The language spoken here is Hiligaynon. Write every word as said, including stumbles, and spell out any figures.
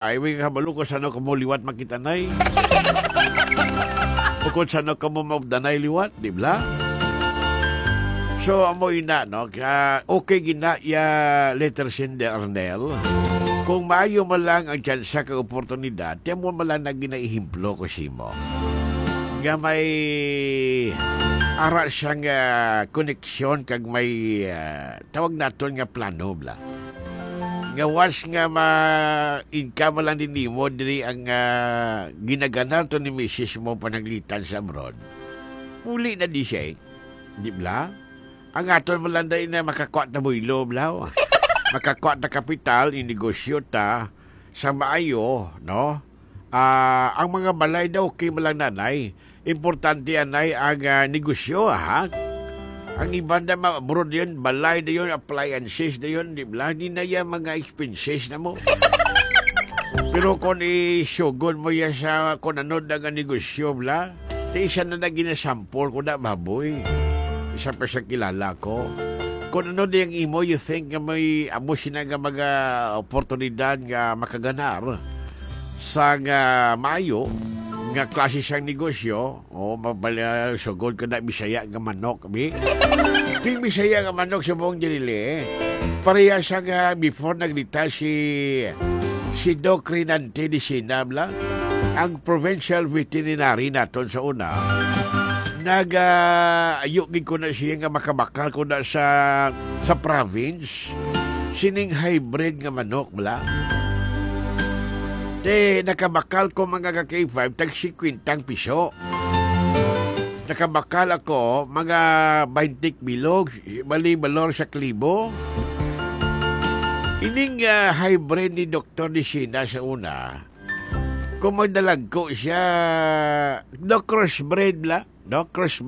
Ay, way kabalo ko sano kamo liwat makita, nay. Bukod sano kamo maupdanay liwat, di bala? So, amo ina, no? Kaya, okay gina ya letter sender, Arnel. Kung maayo man lang ang tsansa kag oportunidad, ti amo man lang na ginaehemplo ko simo. Nga may ara siyang, ah, koneksyon kag may, ah, tawag naton nga plano, bala. Nga was nga ma-, income lang din nimo diri ang, ah, ginaganar to ni misis mo panaglitan sa abroad. Uli na di siya, eh. Di bala? Ang aton man lang dai na makakuha ta buylo, bala. Makakuha ta kapital, inegosyo ta sa maayo, no? Ah, ang mga balay daw, okay man lang, nanay. Importante, anay, ang, ah, negosyo, ha? Ang iban na ma-, abroad yun, balay na yun, appliances na yun, di bala? Di na yan mga expenses na mo. Pero kung isugod mo yan sa kung ano na nga negosyo, bala, di isa na na ginasampol ko na, baboy. Isa pa sa kilala ko. Kung ano di ang imo, you think nga may amo sina nga mga oportunidad nga makaganar sa nga maayo nga klase sang negosyo, o mabala, sugod ka na Bisaya nga manok, bi? Ting Bisaya nga manok sa buong Dili, eh. Pareha sa nga before nagretire si, si Doc Renante de Sinabla, ang provincial veterinary naton sa una. Nag, ah, ayo gid ko na siya nga makabakal ko na sa, sa province. Sining hybrid nga manok, bala. Te, nakabakal ko, mga ka-K five, tag singkwenta ang piso. Nakabakal ako, mga baynte bilog, bali, balor sa klibo. Ining, ah, hybrid ni Doktor Nisina sa una, kung magdalagko siya, no, crossbreed la, no, crossbreed.